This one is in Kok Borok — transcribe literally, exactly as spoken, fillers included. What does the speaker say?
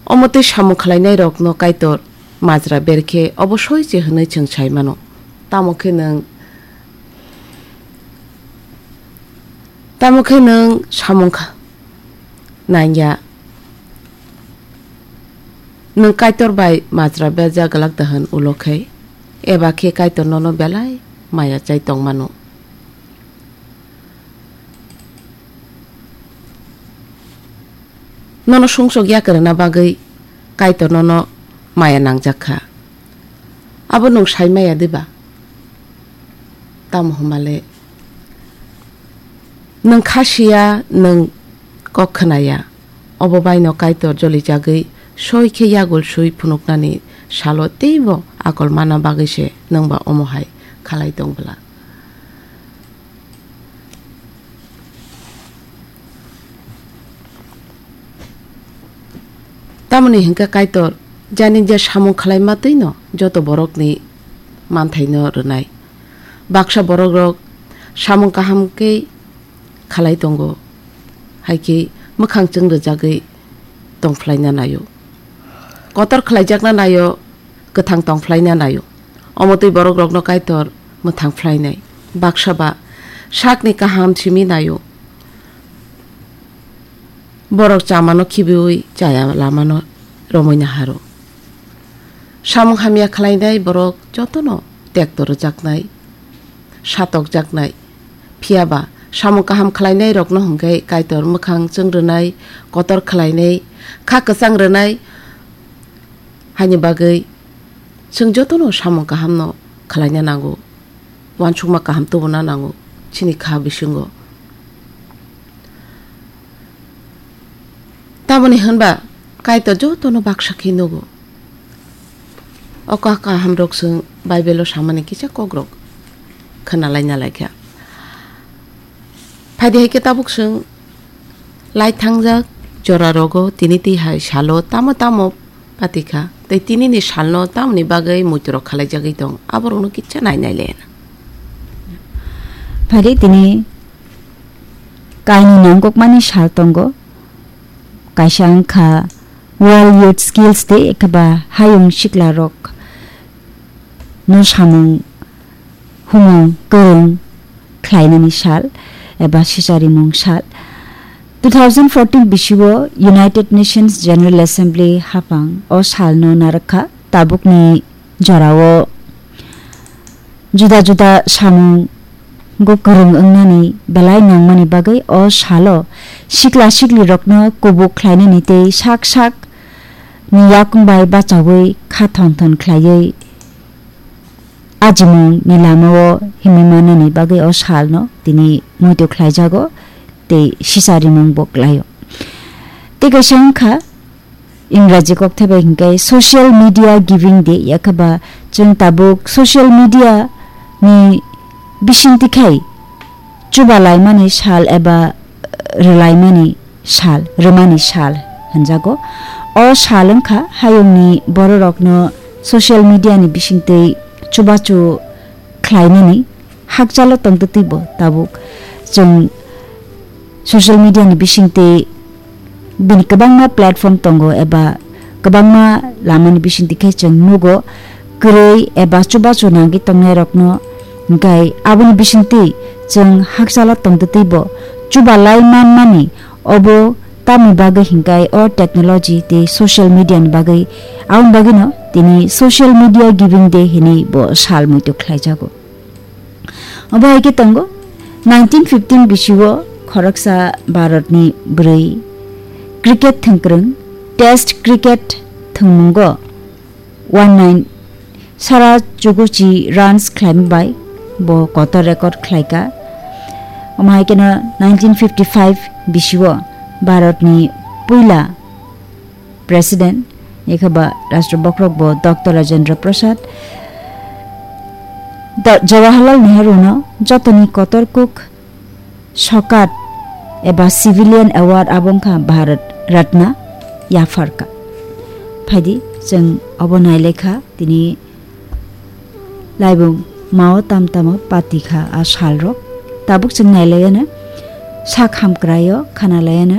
Omo tei samung khlainairokno Kaitor majra ber khe obo soi se hwnwi chwng sai mano. Tamo khe nwng, tamo khe nwng samung kha-, nangya. Nwng Kaitor bai majra berjak glak da hwn ulo khe, eba khe Kaitor nono belai maya chai tong mano. Nono sumsok ya kwrwngna bagwi Kaitor nono maya nangjak kha. Abo nwng sai maya diba? Tamo hwnmale nwng kha siya, nwng kok khwnaya. Obo baino Kaitor jolijagwi soi khe yagul sui phunuknani salo teibo akol manna bagwi se nwngba omo hai khalai tong bwla. Tamoni hwnkhe Kaitor jani je samung khlai ma twino joto borokni manthaino rwnai. Baksa borokrok samung kaham khe khalai tongo, hai khe mwkhang chwng rwjagwi tong phlaina naio. Kotor khlaijakna naio, kwthang tong phlaina naio. Omo twi borokrokno Kaitor mwthang phlainai. Baksa ba sakni kaham simi naio. Borok chamano khibiui chaya lamano romwi naharo. Samung hamya khlainai borok jotono tekto rwjaknai, satokjaknai. Phiya ba, samung kaham khlainairokno hwnkhe Kaitor mwkhang chwng rwnai, kotor khlainai, kha kwchang rwnai, haini bagwi chwng jotono samung kahamno khlaina nango, uansukma kaham tubuna nango chini kha bisingo. Tamoni hwnba Kaitor jotono baksa khe nugo. O kha kaham rok chwng Bible o samani kisa kokrok khwnalai nalai kha. Phaidi hai khe tabuk chwng lai thangjak jora rogo tini twi hai salo tamo tamo pati kha tei tini ni salno tamoni bagwi muitu rok khalai jagwi tong, aborok no kisa nai nai le. Phaidi tini kainwi nangkukmani sal tongo. Kaisa wngkha World Youth Skills Day, ekhaba hayung siklarok no samung humung kwrwng khlainani sal eba sicharimung sal. Two thousand fourteen bisio United Nations General Assembly haphang o salno narwkha. Tabukni jorao juda juda samungo kwrwng wngnani belai nangmani bagwi o salo sikla siklirokno kubuk khlainani tei sak sak ni yakung bai bachaui kha thon thon khlaiwi ajimung ni lamao himwi mannani bagwi o salno tini muitu khlaijago tei sicharimung bo khlaio. Tei kaisa wngkha Ingraji kokthai bai hwnkhe Social Media Giving Day, yakhaba chwng tabuk social media ni bisingtwi khai chubalaimani sal eba rwlaimani sal, rwmani sal hwnjago. O sal wngkha hayungni bororokno social media ni bisingtwi chubachu khlainani hakchalo tongtwtwibo tabuk chwng social media ni bisingtwi bini kwbangma platform tongo eba kwbangma lamani bisingtwi khe chwng nugo kwrwi eba chubachu nangwi tongnairokno, hwnkhe aboni bisingtwi chwng hakchalo tongtwtwibo chubalai manmani. Obo tamni bagwi hwnkhe o technology tei social media ni bagwi, aboni bagwino tini Social Media Giving Day hinwi bo sal muitu khlaijago. Obo hai khe tongo, nineteen fifteen bisio khoroksa Bharatni bwrwi cricket thwngkwrwng, Test cricket thwngmungo one nine sara chukuchi runs khlaima bai bo kotor record khlaika. Omo hai kheno nineteen fifty-five bisio Bharatni puila President, ekhaba Rashtra Bokrok bo Doctor Rajendra Prasad, Do-, Jawaharlal Nehru no jotoni kotor kuk sokat eba civilian award abo wngkha Bharat Ratna yapharka. Phaidi chwng obo nailekha tini laibung mao tam tamo patikha a salrok. Tabuk chwng nailaiyano sak hamkraio khanalaiyano